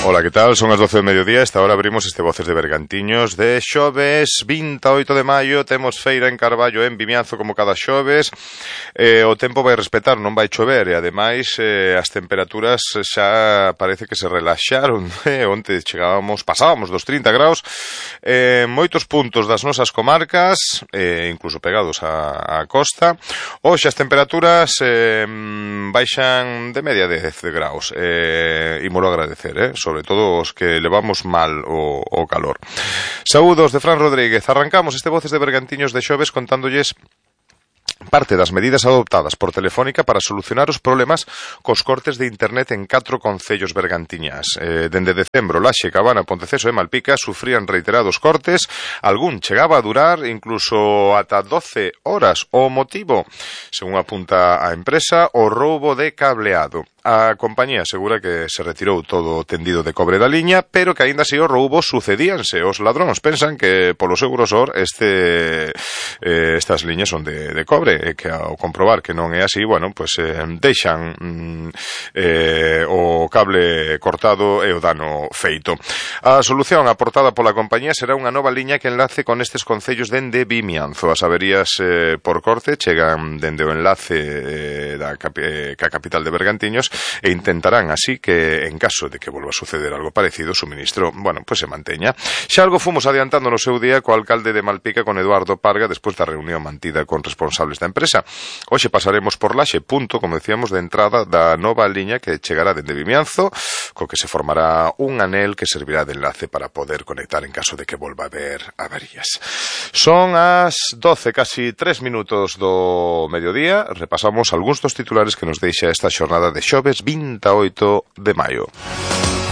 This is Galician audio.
Ola, que tal? Son as 12 do mediodía. Esta hora abrimos este Voces de Bergantiños de xoves 28 de maio. Temos feira en Carballo, en Vimianzo, como cada xoves. O tempo vai respetar, non vai chover. E ademais as temperaturas xa parece que se relaxaron. Onte pasábamos dos 30 graus. Moitos puntos das nosas comarcas, incluso pegados á costa. Hoxe as temperaturas baixan de media 10 graus. Ímolo agradecer, sobre todo os que levamos mal o calor. Saúdos de Fran Rodríguez. Arrancamos este Voces de Bergantiños de xoves contándolles parte das medidas adoptadas por Telefónica para solucionar os problemas cos cortes de internet en 4 concellos bergantiñas. Dende decembro, Laxe, Cabana, Ponteceso e Malpica sufrían reiterados cortes, algún chegaba a durar incluso ata 12 horas. O motivo, según apunta a empresa, o roubo de cableado. A compañía asegura que se retirou todo o tendido de cobre da liña, pero que aínda así os roubos sucedíanse. Os ladróns pensan que polo seu grosor estas liñas son de cobre, e que ao comprobar que non é así, bueno, pues deixan o cable cortado e o dano feito. A solución aportada pola compañía será unha nova liña que enlace con estes concellos dende Vimianzo. As averías por corte chegan dende o enlace ca capital de Bergantiños e intentarán así que, en caso de que volva a suceder algo parecido, o suministro, bueno, pues se manteña. Xa algo fomos adiantando no seu día co alcalde de Malpica, con Eduardo Parga, despois da reunión mantida con responsables da empresa. Hoxe pasaremos por Laxe, punto, como decíamos, de entrada da nova liña que chegará dende Vimianzo, co que se formará un anel que servirá de enlace para poder conectar en caso de que volva a haber averías. Son as 12, casi 3 minutos do mediodía. Repasamos algúns dos titulares que nos deixa esta xornada de xoves 28 de maio.